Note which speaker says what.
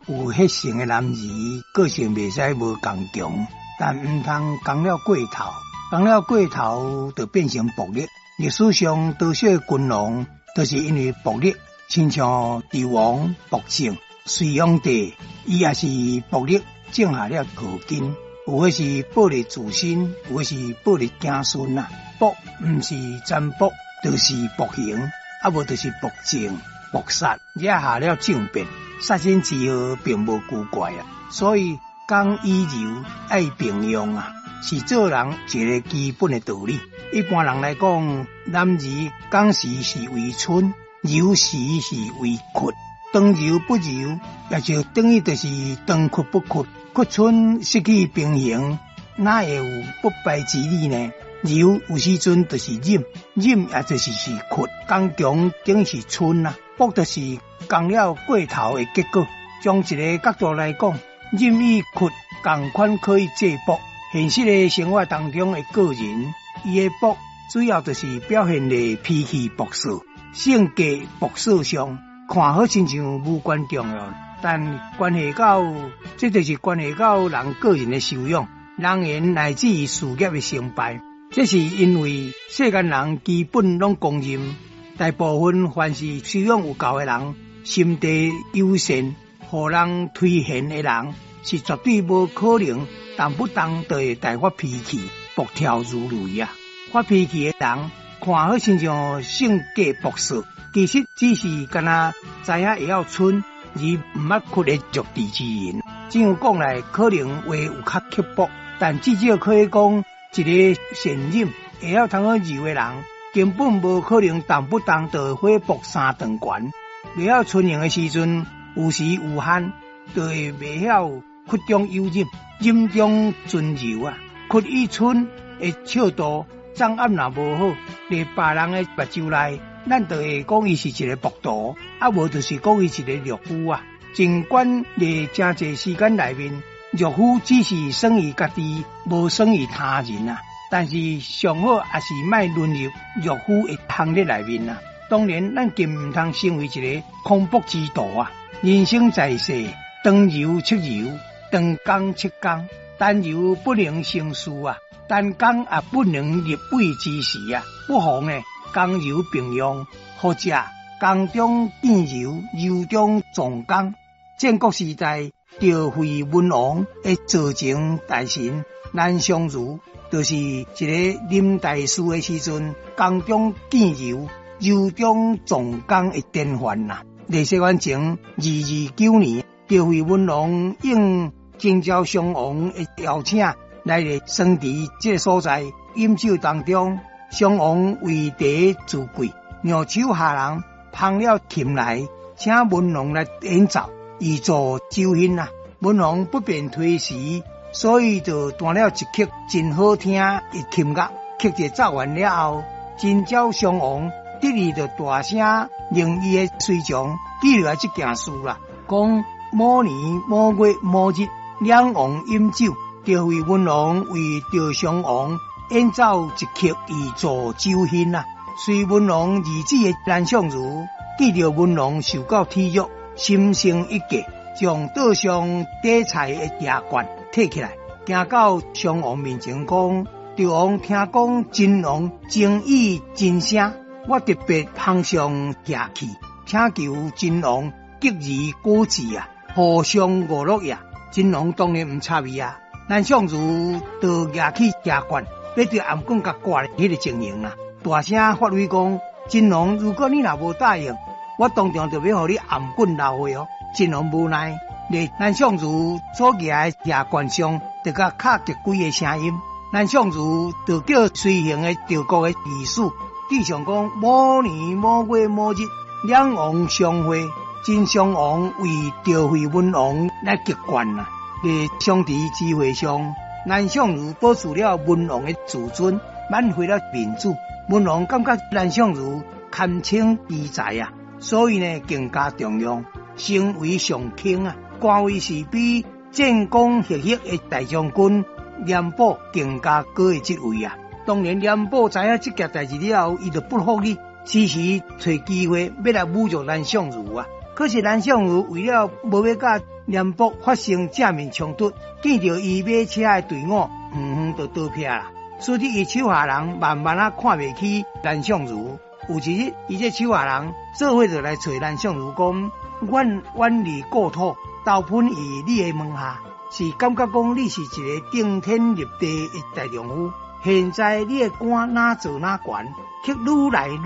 Speaker 1: 有血性的男兒個性袂使無剛強，但毋通剛了過頭，剛了過頭就變成暴力。歷史上多數的君王都是因為暴力，親像紂王暴政，隋煬帝伊也是暴力種下了禍根。有的是暴力自身，有的是暴力子孫啊。暴毋是殘暴，就是暴行，啊無就是暴政、暴殺，惹下了政變。殺身之禍並無奇怪啊，所以剛與柔愛並用啊，是做人一個基本的道理。一般人來講，男兒剛時是為春，柔時是為屈。當柔不柔，也就等於就是當屈不屈，屈春失去平衡，哪會有不敗之理呢？柔有時陣就是忍，忍也就是是屈，剛強等於是春啊，暴就是剛了過頭的結果。從一個角度來講，忍與屈仝款可以制暴。現實的生活當中的個人，伊的暴主要就是表現咧脾氣暴躁、性格暴躁上，看好親像無關重要，但關係到這就是關係到人個人的修養、人緣乃至於事業的成敗。這是因為世間人基本攏公認，大部分凡是修養有夠的人，心地友善、予人推賢的人，是絕對無可能動不動就會大發脾氣、暴跳如雷啊！發脾氣的人，看好親像性格暴躁，其實只是干焦知影會曉嗔，而毋捌屈的弱智之人。這樣講來，可能話有較刻薄，但至少可以講，一個善忍會曉通好柔的人，根本無可能動不動就火爆三頓懸。袂曉嗔刑的時陣，有時有限，就會袂曉屈中有忍，忍中存柔啊。屈與嗔的尺度掌握若無好，佇別人的目睭內，咱就會講伊是一個暴徒，啊無就是講伊是一個懦夫啊。儘管佇誠濟時間內面，懦夫只是耍於家己，無耍於他人啊。但是上好也是莫淪入懦夫的行列內面啊。當然，咱更毋通成為一個狂暴之徒啊。人生在世，當柔則柔，當剛則剛，單柔不能成事啊，單剛也不能立位之時啊。不妨呢，剛柔並用，或者剛中見柔，柔中藏剛。戰國時代，趙惠文王的座前大臣南相如，就是一个臨大事的時陣，剛中見柔，柔中藏剛的典範啦。佇西元前229年，趙惠文王應秦昭襄王的邀請，來佇桑池這个所在飲酒當中，襄王為茶自貴，讓手下人捧了琴來，請文王來演奏，以助酒興啊。文王不便推辭，所以就彈了一曲真好聽的琴樂。曲子奏完了後，秦昭襄王得意就大聲令伊的隨從記落來這件事啦，講某年某月某日，兩王飲酒，趙惠文王為趙襄王演奏一曲以助酒興啊。隨文王兒子的南相如見著文王受到體辱，心生一計，將桌上底菜的茶罐提起來，行到襄王面前講：趙王聽講秦王爭議真聲，我特別捧上下去，請求秦王給予果子啊，互相娛樂呀。秦王當然毋插伊啊。南相如就舉起茶罐，欲著頷棍共割彼个情形啊，大聲發威講：秦王，如果你若無答應，我當場就欲予你頷棍流血哦！秦王無奈，佇南相如所舉的茶罐上，就共敲擊幾个聲音。南相如就叫隨行的趙國的御史，記上講某年某月某日，兩王相會，秦襄王為趙惠文王來擊罐啊！佇桑池之會上，南相如保持了文王的自尊，挽回了面子。文王感覺南相如堪稱奇才啊，所以呢更加重用，成為上卿啊，官位是比戰功赫赫的大將軍廉頗更加高的職位啊。當然，廉頗知影這件代誌了後，伊就不服氣，時時揣機會欲來侮辱南相如啊。可是南相如為了無欲佮廉僕發生正面衝突，見著伊馬車的隊伍，遠遠就逃避啦。使得伊手下人慢慢仔看袂起藍相如。有一日，伊這手下人做伙就來揣藍相如講：阮遠離故土，投奔於你的門下，是感覺講你是一个頂天立地的大丈夫。現在你的官若做若懸，卻愈來愈